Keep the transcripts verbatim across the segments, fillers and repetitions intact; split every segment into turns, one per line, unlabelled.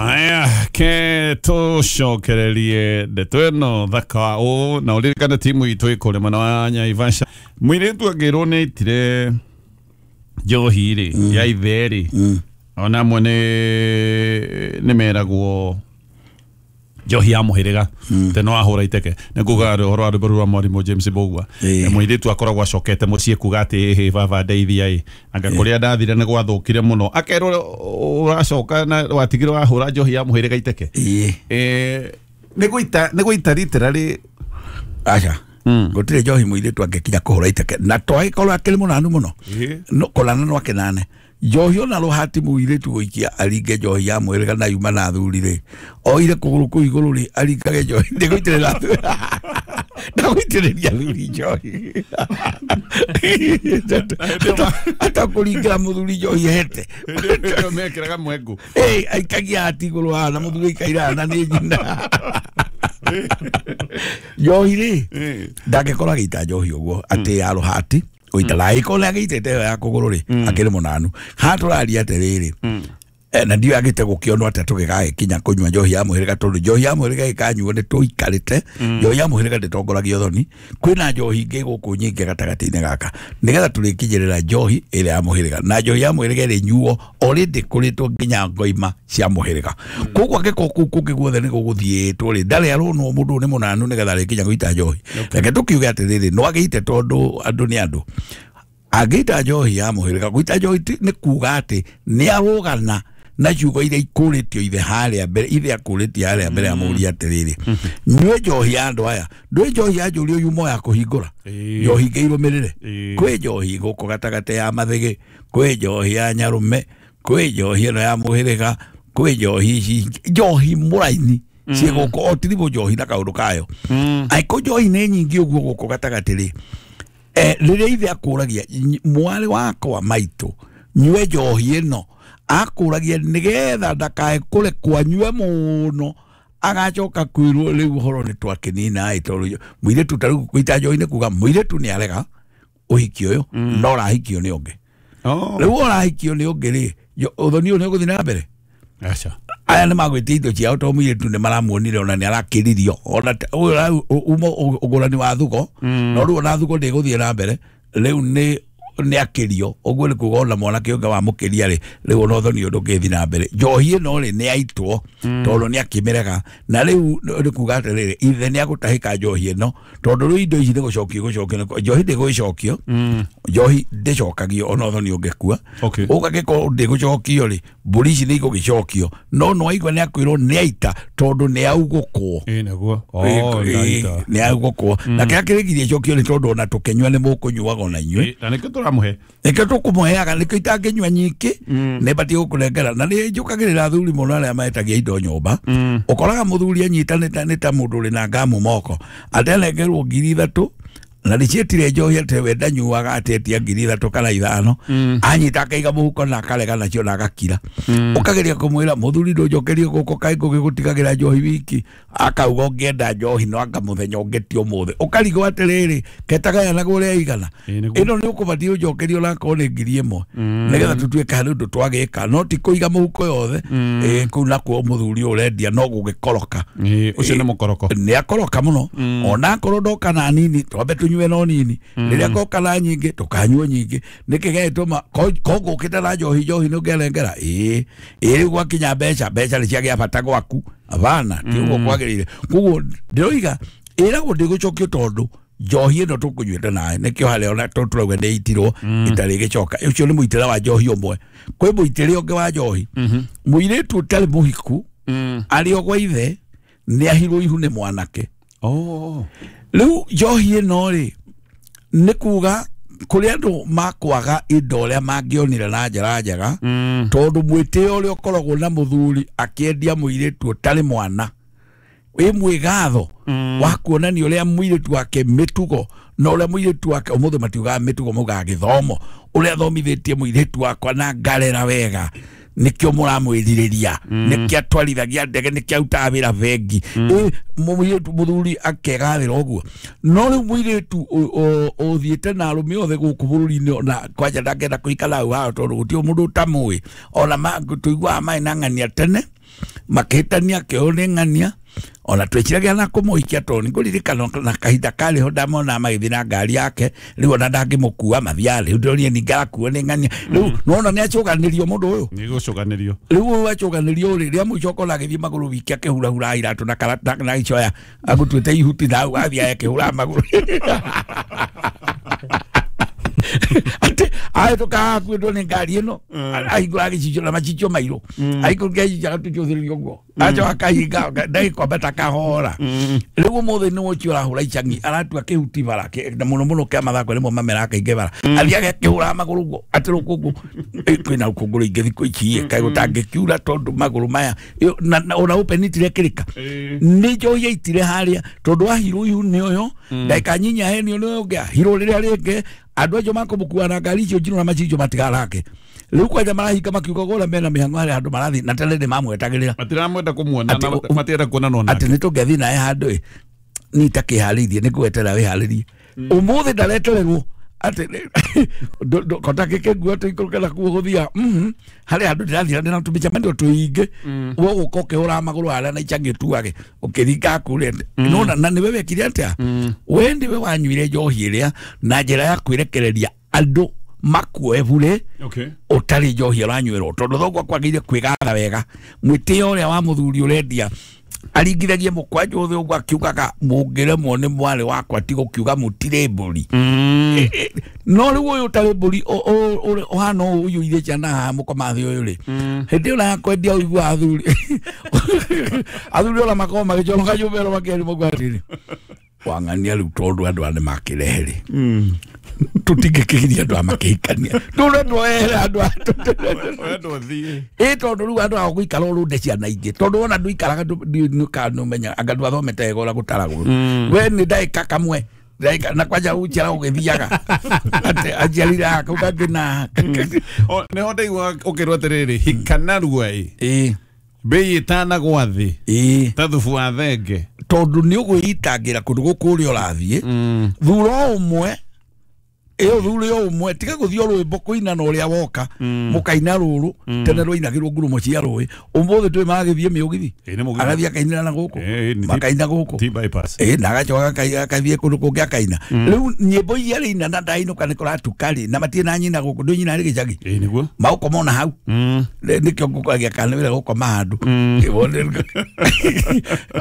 Aya, ke tũcokererie ndeto ĩno thaka ũũ na ũririkane timu itũ ĩkũrĩ mwena wa Naivasha. Mũirĩtu angĩrwo nĩ aitire njohi rĩ ya ithe rĩ, ona amwe nĩ nĩ meragwo njohi ya mũhĩrĩga te no ahũra iteke nĩ kuga ũhoro wa rwĩmbo rwa mwarimũ James Mbugua.
Ĩĩ.
Mũirĩtu akoragwo acokete mũciĩ kuga atĩ ĩhĩ baba ndeithia ĩ anga kũrĩa ndathire nĩ gwathũkire mũno akerwo ũracoka na watigire wahũra njohi ya mũhĩrĩga iteke.
Ĩĩ.
Eh, nĩ gũita nĩ gũita literally.
Aca, gũtirĩ njohi mũirĩtu angĩkinya kũhũra iteke na twagĩkorwo akĩrĩ mũnanu mũno.
Ĩĩ.
No kũrana no akenane njohi ona rũhati mũirĩtu gũikia aringe njohi ya mũhĩrĩga na yuma na athuri rĩ oire kũgũrũ kũu igũrũ rĩ aringage njohi ndĩgũitĩrĩra athuri ndagũitĩrĩria athuri njohi ata kũringĩra mũthuri njohi hete.
Hĩndĩ ĩyo mekĩraga mwengu.
Ĩ, aikagia hati igũrũ haha na mũthuri aikaire haha na nĩ nyina njohi rĩ
Ĩĩ.
ndangĩkorwo agĩita njohi ũguo atĩ ya rũhati gũita na angĩkorwo nĩ agĩitĩte ĩyo ya kũgũrũ rĩ akĩrĩ mũnanu haha tũraria atĩrĩrĩ. Eh, na ndiũ agĩte gũkĩonwo atĩa tũgĩgagĩkinya kũnyua njohi ya mũhĩrĩga tondũ njohi ya mũhĩrĩga ĩkanyuo nĩ tũikarĩte njohi ya mũhĩrĩga ndĩtongoragia ũthoni kwĩna njohi ingĩ gũkũ nyingĩ gatagatĩ-inĩ gaka nĩgetha tũrĩkinyĩrĩra njohi ĩrĩa ya mũhĩrĩga na njohi ya mũhĩrĩga ĩrĩnyuo already kũrĩtwo nginya ngoima cia mũhĩrĩga koguo angĩkorwo kũu kũngĩ guothe nĩ gũgũthiĩtwo rĩ ndarĩ aronwo mũndũ ũyũ nĩ mũnanu nĩgetha arĩkinya gũita njohi. Reke tũkiuge atĩrĩrĩ no agĩite tondũ andũ nĩ andũ angĩita njohi ya mũhĩrĩga gũita njohi ti- nĩ kuga atĩ nĩ arũgana na ciugo iria ikũrĩtio ithe harĩa mbere ithe akũrĩtie harĩa mbere amũria atĩrĩrĩ nyue njohi ya andũ aya ndũĩ njohi ya njũrio yuma ya kũhingũra
Ĩĩ.
njohi ingĩ irũmĩrĩre.
Ĩĩ.
Kwĩ njohi gũkũ gatagatĩ ya mathĩgĩ kwĩ njohi ya nyarũme kwĩ njohi ĩno ya mũhĩrĩga kwĩ njohi ici njohi mũraini ciĩ gũkũ o tiribũ njohi na kaũndũ kayo angĩkorwo njohi nĩ nyingĩ ũguo gũkũ gatagatĩ rĩ eh, rĩrĩa ithe akũragia "Ny- mwarĩ wakwa maitũ nyue njohi ĩno akũragia nĩgetha ndakae kũrekwo anyue mũno agacoka kwĩrwo rĩu ũhoro nĩ twakĩnina ĩ tondũ mũirĩtu ta rĩu gũita njohi nĩ kuga mũirĩtu nĩ arega ũhiki ũyũ no ũrahikio nĩ ũngĩ.
Oh.
Rĩu ũrahikio nĩ ũngĩ rĩ jo- ũthoni ũyũ nĩ ũgũthiĩ na mbere.
Aca.
Aya nĩ magwĩtia indo ciao tondũ mũirĩtu nĩ maramuonire ona nĩ arakĩririo ona ta- ũyũ rau uma ũgũrani wa thugo no rĩu ona thugo ndĩgũthiĩ na mbere rĩu nĩ nĩ akĩrio ũguo nĩ kuga ona mwanake ũngĩ wamũkĩria rĩ rĩu ona ũthoni ũyũ ndũngĩthiĩ na mbere njohi ĩno rĩ nĩ yaitwo tondũ nĩ akĩmĩrega na rĩu nĩ kuga atĩrĩrĩ ithe nĩ agũtahĩka njohi ĩno tondũ rĩu indo ici nĩ gũcokio gũcokio njohi ndĩgũgĩcokio njohi ndĩcokagio ona ũthoni ũngĩkua.
Okay.
Ũgagĩkorwo ndĩgũcokio rĩ mbũri ici nĩ igũgĩcokio no no aigua nĩ akwĩrwo nĩ aita tondũ nĩ augũkwo.
Ĩĩ naguo. Oh,
Ĩ-
ndaita.
nĩ augũkwo na kĩrĩa kĩrĩgirie icokio nĩ tondũ ona tũkĩnyua nĩ mũkũnyuaga ona inyuĩ.
Ĩĩ, na nĩkĩo tũramũhe.
Nĩkĩo tũkũmũheaga nĩkĩo itangĩnyua nyingĩ nĩ batiĩ gũkũnengera na nĩ njũkagĩrĩra athuri mũno arĩa metagia indo nyũmba ũkoraga mũthuri anyitanĩte nĩ ta mũndũ ũrĩ na ngamu moko atenengerwo ngiri ithatũ na nĩciĩtire njohi atĩ we ndanyuaga atetia ngiri ithatũ kana ithano anyita akaiga mũhuko na akarega nacio na agakira ũkageria kũmwĩra mũthuri ndũnjokerie gũkũ kaĩ ngũgĩgũtigagĩra njohi wiki akauga ũngĩenda njohi no anga mũthenya ũngĩ ti ũmũthĩ ũkarigwo atĩrĩrĩ ketagayanaga ũrĩa igana.
Ĩĩ, nĩguo.
Ĩno nĩ ũkũbatiĩ ũnjokerie onakorwo nĩ ngiri ĩmwe nĩgetha tũtuĩke harĩ ũndũ twagĩka no ti kũiga mũhuko yothe. Ĩĩ, kũu nakuo mũthuri ũyũ ũrendia no gũgĩkoroka.
Ĩĩ, ũcio nĩ mũkoroko.
Nĩ akoroka mũno ona akorwo ndoka na nini twambe tũnyue no nini rĩrĩa koka na nyingĩ tũkanyua nyingĩ nĩkĩ gĩgĩtũma ko ngũkĩte na njohi njohi nĩ ũngenengera ĩĩ ĩĩ rĩu gwakinya mbeca mbeca nĩ ciagĩa bata gwaku abana ti ũguo kwagĩrĩire koguo ndĩroiga ĩragwo ndĩgũcokio tondũ njohi ĩno tũkũnyuĩte nayo nĩkĩo harĩa ona tũ tũrauga nĩ itirwo ĩtarĩ ĩgĩcoka ũcio nĩ mũitĩre wa njohi ũmwe kwĩ mũitĩre ũngĩ wa njohi mũirĩtu ũtarĩ mũhiku arĩ o gwa ithe nĩ ahirwo ihu nĩ mwanake.
Oh.
Rĩu njohi ĩno rĩ nĩ kuga kũrĩ andũ makwaga indo ũrĩa mangĩonire na njĩra njega tondũ mwĩtĩo ũrĩa ũkoragwo na mũthuri akĩendia mũirĩtu ũtarĩ mwana wĩ mwĩgatho wa kuonania ũrĩa mũirĩtu wake mĩtugo na ũrĩa mũirĩtu wake ũmũthĩ matiugaga mĩtugo maugaga gĩthomo ũrĩa athomithĩtie mũirĩtu wakwa na ngarera wega nĩkĩo mũramwĩrirĩria nĩkĩo atwarithagia ndege nĩkĩo arutaga wĩra bengi. Ĩ, mũirĩtu mũthuri akegathĩra ũguo no rĩu mũirĩtu ũ- ũ- ũthiĩte na arũme othe gũkũ bũrũri-inĩ ona kwanja ndangĩenda kũikara hau hao tondũ gũtirĩ mũndũ ũtamũĩ ona ma- tũiguaga maĩ na ng'ania tene. Makĩhĩtania akĩoywo nĩ ng'ania ona twĩciragia na kũmũhikia tondũ nĩngũririkana na kahinda karĩ ho ndamona magĩthiĩ na ngari yake rĩu ona ndangĩmũkua mathiaga rĩu ndĩronire ningĩ arakuo nĩ ng'ania rĩu nĩwona nĩacũganĩrio mũndũ ũyũ
nĩgũcũganĩrio
rĩu ũyũ acũganĩrio rĩ rĩa mũico ũkona agĩthiĩ magũrũ wiki akĩhurahura iratũ na karata na icoya agũtuĩte ihuti na hau athiĩ akĩhũra magũrũ ati ahĩtũka akuĩtwo nĩ ngari ĩno ahingũra gĩcicio na macicio mairũ ahingũra gĩcicio agatucũthĩrĩria ũguo acoka akahinga ndagĩkwambata kahora rĩu ũmũthĩ nĩ ũcio ũrahũra icang'i aratua kĩhuti bara na mũno mũno kĩa mathako nĩmo mamera kaingĩ bara athiaga akĩhũraga magũrũ ũguo atĩ rũkũngũ kwĩna rũkũngũ rũingĩ thikũ ici kaĩ gũtangĩkiura tondũ magũrũ maya ona ũpenitire kĩrĩka nĩ njohi yaitire harĩa tondũ ahirwo ihu nĩ ũyũ ndagĩka nyinya henio nĩ ũyũ ũngĩ ahirwo rĩrĩa rĩngĩ andũ acio makũmũkua na ngari icio njirũ na macicio matigarake rĩu kwanja marahinga makiuga gũra mena mĩhang'o harĩa andũ marathiĩ na tene nĩ mamwetagĩrĩra
matiramwenda kũmuona na matienda kuonana nake
atĩ nĩ tũngĩathiĩ naye handũ ĩ niĩ itakĩharĩirie nĩ ngweterera wĩharĩrie ũmũthĩ ndaretererwo atĩ kota gĩkĩngua tũikũrũke nakuo gũthiaga harĩa handũ ndĩrathiĩ na tũmĩcemanio tũingĩ we ũgũka ũkĩhũraga magũrũ harĩa na icangĩ ũtuage ũkĩringa kũrĩa nĩwona na nĩwe wekire atĩa we nĩwe wanyuire njohi ĩrĩa na njĩra ya kwĩrekereria andũ makuoe bure ũtarĩ njohi ũranyuĩrwo tondũ thoguo akwagĩrĩire kwĩgatha wega mwĩtĩo ũrĩa wa mũthuri ũrendia aringithagie mũkwanjũ ũthĩ ũguo akiugaga mũngĩremwo nĩ mwarĩ wakwa ti gũkiuga mũtirĩ mbũri no rĩu ũyũ ũtarĩ mbũri ũhana ũũ ũiyũire ciana haha mũkomathĩ ũyũ rĩ hĩndĩ ĩyo yakwendia ũigua athuri athuri ona makoragwo magĩconoka nyũmba ĩno makĩeria mauga atĩrĩrĩ wang'ania rĩu tondũ andũ aya nĩmakĩrehe rĩ tũtingĩkĩgiria andũ aya makĩhikania tũrendwo ehere andũ aya ĩ tondũ rĩu andũ aya gũikara ũrũnde ciana ingĩ tondũ wona ndũikaraga nĩũmenya anga ndwathomete wega ũrĩa gũtaragwo we nĩ ndagĩka kamwe ndagĩka na kwanja ũciara ũgĩthiaga atĩ aciarire haha kau kangĩ na
nĩho ndaigua ũkĩrwo atĩrĩrĩ hika narua ĩ mbei ĩtanagwa thĩ ta thubu wa thenge
tondũ nĩ ũgwĩitangĩra kũndũ gũkũ ũrĩa ũrathiĩ thura ũmwe ĩyo thure o ũmwe tiga gũthiĩ o rwĩmbo kũina na ũrĩa woka mũkaina rũrũ tene rwainagĩrwo ngurumo cia rũĩ ũmũthĩ twĩ magĩthiĩ mĩũgithi agathiĩ akainĩra na gũkũ makaina gũkũ ĩ na agacoka akathiĩ kũndũ kũngĩ akaina rĩu nyĩmbo iria arĩina na ndainũka nĩ kũratuka rĩ na matirĩ na nyina gũkũ ndũ nyina arĩ gĩcagi magũkoma ona hau nĩkĩo ngũkoragia kana nĩ wĩra gũkoma handũ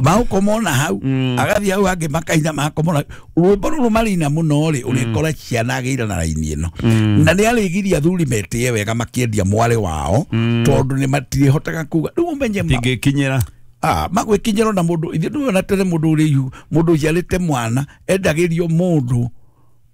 magũkoma ona hau agathiĩ hau angĩ makaina magakoma ona rwĩmbo rũrũ marĩina mũno rĩ ũrĩkora ciana agĩire na raini ĩno na nĩ arĩgiria athuri metĩe wega makĩendia mwarĩ wao tondũ nĩ matirĩhotaga kuga rĩu ũmenye
tingĩkinyĩra
ah magwĩkinyĩra na mũndũ ithuĩ ndũĩ tene mũndũ ũrĩ ihu mũndũ ũciarĩte mwana endagĩrio mũndũ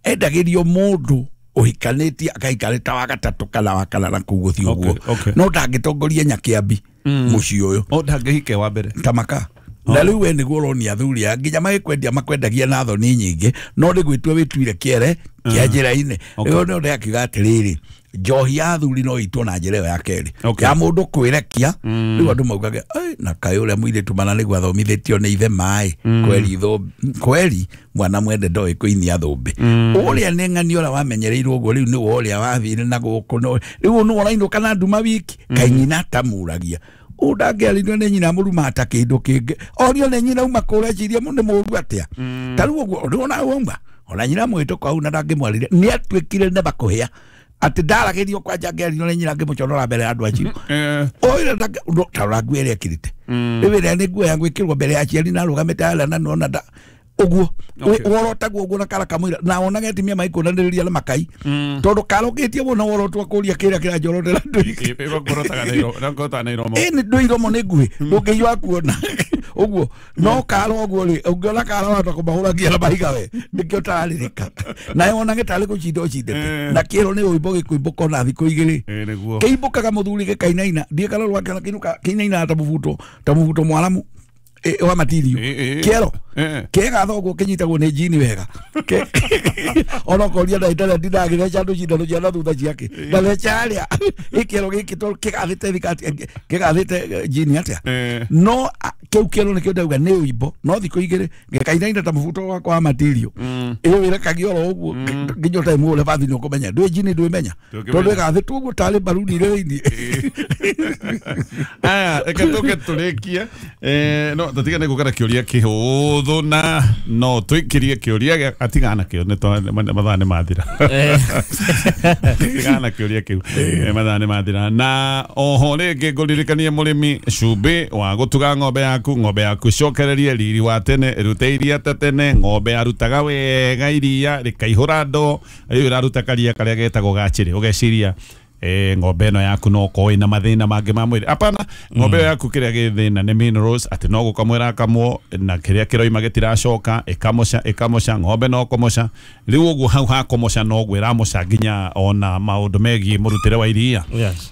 endagĩrio mũndũ ũhikanĩtie akaikarĩta wa gatatũ kana wa kana na kũu gũthiĩ ũguo no ndangĩtongoria Nyakĩambi mũciĩ ũyũ
o ndangĩhike wa mbere
tamaka na rĩu we nĩguo ũronia athuri aya nginya magĩkwendia makwendagia na thoni nyingĩ no nĩ gwĩtua wĩtuire kĩere kĩa njĩra-inĩ rĩu nĩ ũndũ akiuga atĩrĩrĩ njohi ya athuri no ĩitwo na njĩra ĩyo ya kerĩ ya mũndũ kwĩrekia rĩu andũ maugaga na kaĩ ũrĩa mũirĩtu mana nĩguo athomithĩtio nĩ ithe maĩ kweri kweri mwana mwende ndoĩ kũinia thũmbĩ ũrĩa nĩ ng'ani ũrĩa wamenyereirwo ũguo rĩu nĩwe ũrĩa wathire na gũkũ rĩu nĩwe ũrainũka na nduma wiki kaĩ nyina atamũragia ũndangĩarĩrio nĩ nyina mũruma ta kĩndũ kĩngĩ orio nĩ nyina uma kũrĩa cirie nĩ mũru atĩa ta rĩu ũguo ndĩwona wauma ona nyina mwĩtũka hau na ndangĩmwarĩria nĩ atuĩkire nĩ makũhĩa atĩ ndaragĩrio kwanja angĩarĩrio nĩ nyina ngĩmũconora mbere ya andũ acio oire tarora nguo ĩrĩa ekĩrĩte rĩu ĩrĩa nĩ nguo ya gwĩkĩrwo mbere ya aciari na arũgamĩte harĩa na nĩwona nda ũguo worotagwo ũguo na kara kamũira na wonage atumia magĩkũnanĩrĩria na makai tondũ karũkĩtie mũno worotwo kũria kĩrĩa kĩranjorotera ndũi ndũ iromo nĩ nguhĩ ndũngĩiyua kuona ũguo no karo ũguo rĩ ũngĩona karo wahota kũmahũragia na mahiga we nĩkĩo ũtararĩrĩka nawe wonage tarĩ gũcinda ũcindĩte na kĩero nĩ rwĩmbo gĩkũimbũka ona thikũ igĩrĩ kĩimbũkaga mũthuri gĩkainaina ndiĩ kana rwake kĩinainaga ta mũbuto ta mũbuto mwaramu wa matirio kĩero kĩega thoguo kĩnyitagwo nĩ njini wega ona koria na internet ndagĩtheca andũ cindano cia na thutha ciake ndatheca harĩa ĩkĩero gĩkĩ tondũ kĩgathĩte thikati kĩgathĩte njini atĩa no kĩu kĩero nĩkĩo ndauga nĩ ũimbo no thikũ igĩrĩ gĩkainaina ta mũbuto wakwa wa matirio ĩyo ĩrekagia oro ũguo nginya ũtarĩ ũrĩa bathi nĩ ũkũmenya ndwĩ njini ndwĩmenya tondũ ĩgathĩtwo ũguo tarĩ mbaruni ĩrĩ thĩinĩ.
Aya reke tũke tũrĩkie no tũtigane gũkara kĩũria kĩhũthũ na no tũikĩrie kĩũria atigana kĩo nĩ mathaa nĩ mathira atigana kĩũria kĩu mathaa nĩ mathira na oho rĩngĩ ngũririkanie mũrĩmi cumbĩ wa gũtuga ng'ombe yaku ng'ombe yaku cokererie riri wa tene ĩrute iria ta tene ng'ombe yarutaga wega iria rĩkaihũra ndoo rĩu ĩraruta karia karĩa getagwo gachĩrĩ ũgeciria eh ng'ombe ĩno yaku no ko ĩna mathĩna mangĩ ma mwĩrĩ apana ng'ombe ĩyo yaku kĩrĩa gĩ thĩna nĩ minerals atĩ no gũkamwo ĩrakamwo na kĩrĩa kĩroima gĩtiracoka ĩkamoca ĩkamoca ng'ombe no kũmoca rĩu ũguo hau hakomoca noguo ĩramoca nginya ona maũndũ megiĩ mũrutĩre wa iria.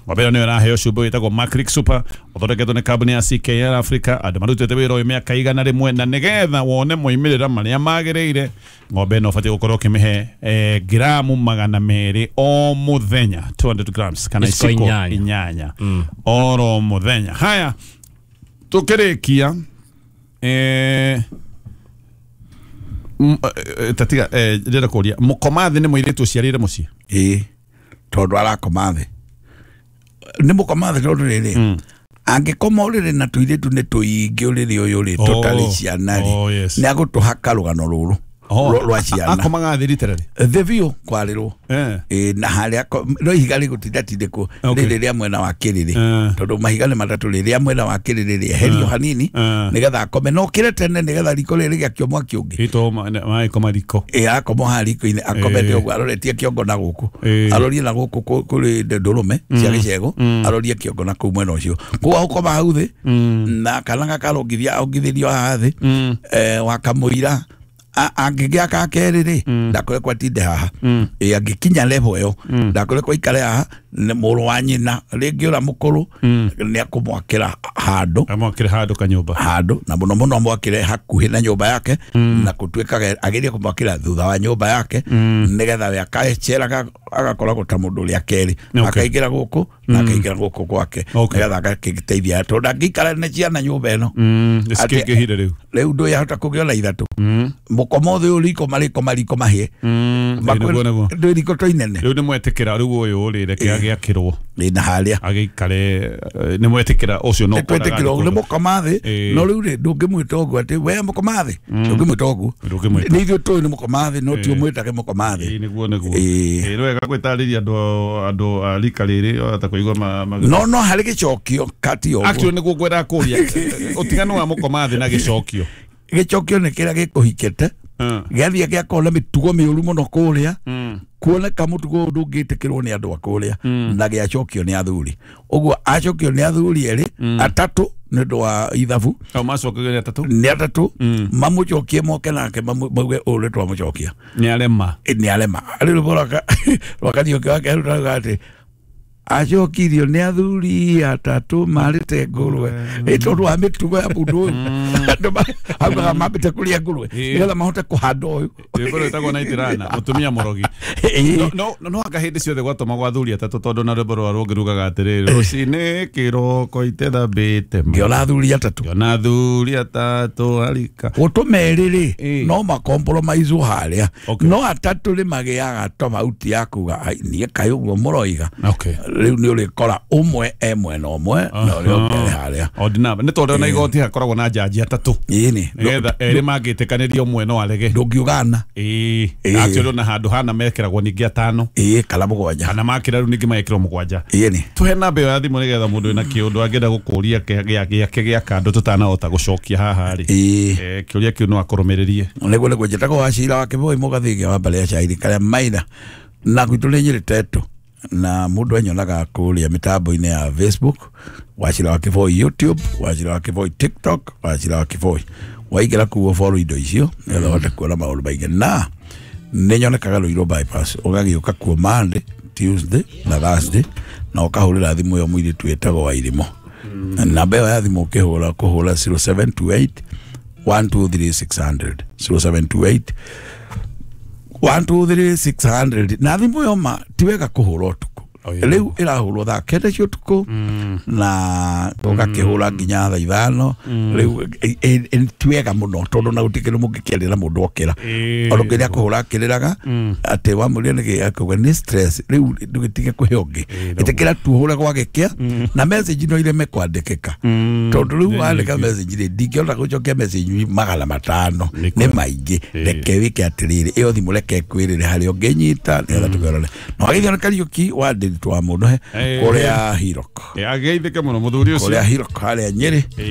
Ng'ombe ĩyo nĩyo ĩraheo cumbĩ wĩtagwo Macric Super ũthondeketwo nĩ kambuni ya C K L Africa andũ marutĩte wĩra ũyũ mĩaka igana rĩmwe na nĩgetha wone moimĩrĩra marĩa magĩrĩire ng'ombe ĩno ũbatiĩ gũkorwo ũkĩmĩhe eh, gramu magana merĩ o mũthenya two hundred grams kana
Iciko
iciko
inyanya.
inyanya oro mũthenya. Haya tũkĩrĩkia eh, m- eh, tatiga eh, ndĩrenda kũria mũkomathĩ nĩ mũirĩtu ũciarĩire mũciĩ
ĩĩ tondũ arakoma thĩ nĩ mũkoma thĩ tondũ rĩrĩ angĩkoma ũrĩrĩ na tũirĩtu nĩ tũingĩ ũrĩrĩ ũyũ rĩ
Oh,
tũtarĩ ciana rĩ
oh, yes.
nĩ agũtũhaka rũgano rũrũ
Oh,
rwa
a-
ciana
akomaga thĩ literally
thĩ biũ kwarĩrwo
eh
ĩ na harĩa no ihiga rĩgũtindatindĩkwo
Okay.
rĩrĩ rĩa mwena wa kĩrĩrĩ
Eh.
tondũ mahiga nĩ matatũ rĩ rĩa mwena wa kĩrĩrĩ rĩeherio hanini
Eh.
nĩgetha akome no kĩre tene nĩgetha riko rĩrĩ rĩakio mwaki ũngĩ
ito maĩ riko
ĩ akoma haha riko-inĩ akomete
Ĩ.
ũguo aroretie kĩongo na gũkũ
Ĩ.
arorie na gũkũ kũ- kũrĩ ndũrũme cia gĩcegũ arorie kĩongo na kũu mwena ũcio koguo agũkoma hau thĩ na kana gakarongithia ongithĩrio haha thĩ eh, wakamũira angĩgĩa ka kerĩ rĩ ndakorekwo atinde haha ĩ angĩkinya level ĩyo ndakorekwo aikare haha nĩ mũrũ wa nyina rĩngĩ ũrĩa mũkũrũ nĩ akũmwakĩra handũ
amwakĩre handũ kanyũmba
handũ na mũno mũno amwakĩre hakuhĩ na nyũmba yake na gũtuĩkaga agerie kũmwakĩra thutha wa nyũmba yake nĩgetha we akaceraga agakoragwo ta mũndũ ũrĩa kerĩ
Okay.
akaingĩra gũkũ na akaingĩra gũkũ gwake
Okay.
nĩgetha agakĩteithia tondũ angĩikara na ciana nyũmba ĩno
nĩ cikĩingĩhire rĩu
rĩu ndũyahota kũgĩa ona ithatũ mũkoma ũthĩ ũyũ riko marĩko mariko mahĩe
nĩguo nĩguo
ndwĩ riko to inene
rĩu nĩ mwetĩkĩra rĩu ũyũ rĩ reke agĩakĩrwo
ĩ na harĩa
agĩikare eh, nĩ mwetĩkĩra ũcio no
twetĩkĩra ũguo nĩ mũkoma thĩ
Ĩ.
no rĩu rĩ ndũngĩmwĩta ũguo atĩ we mũkoma thĩ ndũngĩmwĩta ũguo
Ndũngĩmwĩta.
nĩ ithuĩ tũĩ nĩ mũkoma thĩ no ti ũmwĩtage mũkoma thĩ
Ĩ, nĩguo nĩguo
Ĩ.
Ĩ, nĩ wega gwĩtarĩria andũ andũ a rika rĩrĩ ata kũigua ma- ma-
no no harĩ gĩcokio kati ũguo
Actually nĩguo ngwendaga kũria ũtiganu wa mũkoma thĩ na gĩcokio
gĩcokio nĩ kĩrĩa gĩkũhikĩte
Mm.
gĩathiĩ gĩakorwo na mĩtugo mĩũru mũno kũrĩa kuoneka mũtugo ũyũ ndũngĩtĩkĩrwo nĩ andũ a kũrĩa na gĩacokio nĩ athuri ũguo acokio nĩ athuri erĩ atatũ nĩ ũndũ wa ithabu
au macokagĩria atatũ
nĩ atatũ mamũcokie moke nake mamu- mauge ũũ nĩ twamũcokia
nĩ arema
Ĩ, nĩ arema rĩu rwĩmbo rwaka rwa Kariũki wake rutaga atĩ acokirio nĩ athuri atatũ marĩte ngũrwe ĩ tondũ wa mĩtugo ya mũndũ ũyũ andũ ma- augaga mambĩte kũrĩa ngũrwe
Ĩ.
nĩgetha mahote kũhanda ũyũ
rwĩmbo rwĩtagwo naitirana mũtumia mũrogi
Ĩ.
no no no anga hĩndĩ ciothe gwatũmagwo athuri atatũ tondũ na rwĩmbo rwa rũngĩ rugaga atĩrĩrĩ rũcinĩ kĩroko itethambĩte ma
ngĩona athuri atatũ
ngĩona athuri atatũ arika
gũtũma erĩ rĩ
Ĩ.
no makompromise harĩa
Okay.
no atatũ rĩ magĩaga tofauti ya kuga "Ai, niĩ kaĩ ũguo mũroiga
okay
rĩu nĩ ũrĩkora ũmwe e mwena ũmwe na ũrĩa ũngĩ arĩ harĩa
odd number nĩ tondũ ona igoti hakoragwo na njanji atatũ
ĩni
nĩgetha erĩ mangĩtĩkanĩria ũmwe no arege
ndũngiugana
ĩĩ
Ĩĩ.
actually ona handũ hana mekĩragwo ningĩ atano
ĩĩ kana mũgwanja
kana makĩra rĩu ningĩ magekĩrwo mũgwanja
ĩni
tuhe namba ĩyo ya thimũ nĩgetha mũndũ wĩna kĩũndũ angĩenda gũkũria kĩa- gĩa- gĩake gĩa kando tũtanahota gũcokia haha rĩ
ĩĩ
Eh, kĩũria kĩu no akũrũmĩrĩrie
nĩguo nĩguo njĩtagwo Wacira wa Kĩboi mũgathĩgia wa mbarĩ ya Cairi karĩa maina na gwitũ nĩ Nyĩrĩ Tetũ na mũndũ anyonaga kũrĩa mĩtambo-inĩ ya Facebook Wacira wa Kĩboi, YouTube Wacira wa Kĩboi, TikTok Wacira wa Kĩboi. Waingĩra kuo follow indo icio nĩgetha ũhote kuona maũndũ maingĩ na nĩ nyonekaga Ruiru bypass ũgagĩũka kuo Monday, Tuesday na Thursday na ũkahũrĩra thimũ ĩyo mũirĩtu wĩtagwo Wairimũ. Namba ĩyo ya thimũ ũkĩhũra kũhũra zero seven two eight one two three six hundred zero seven two eight one two three six hundred. Na thimũ ĩyo ma ti wega kũhũra ũtukũ.
Oh, yeah.
Rĩu ĩrahũrwo thaa kenda cia ũtukũ na ũgakĩhũra nginya thaa ithano. Rĩu ĩ- ĩ- ti wega mũno tondũ na gũtikĩrĩ mũngĩkĩarĩra mũndũ okĩra.
Ĩĩ.
Ona kĩrĩa kũhũra akĩrĩraga atĩ wamũria nĩkĩ akauga nĩ stress. Rĩu ndũgĩtige kũhe ũngĩ, ĩtĩkĩra tuhũre gwagĩkĩa na message no ireme kwandĩkĩka tondũ rĩu wandĩka message rĩ ndingĩhota gũcokia message magana matano
Nĩ
nĩ maingĩ. Reke wĩke atĩrĩrĩ, ĩyo thimũ reke ĩkwĩrĩre harĩa ũngĩnyita nĩgetha tũkĩrore. Na wagĩthio nĩ Kariũki wa Ndĩritũ wa Mũnũhe
Ĩĩ.
kũrĩa Hirok,
Ageithĩke mũno mũthuri ũcio.
kũrĩa Hirok harĩa Nyĩrĩ.
Ĩĩ.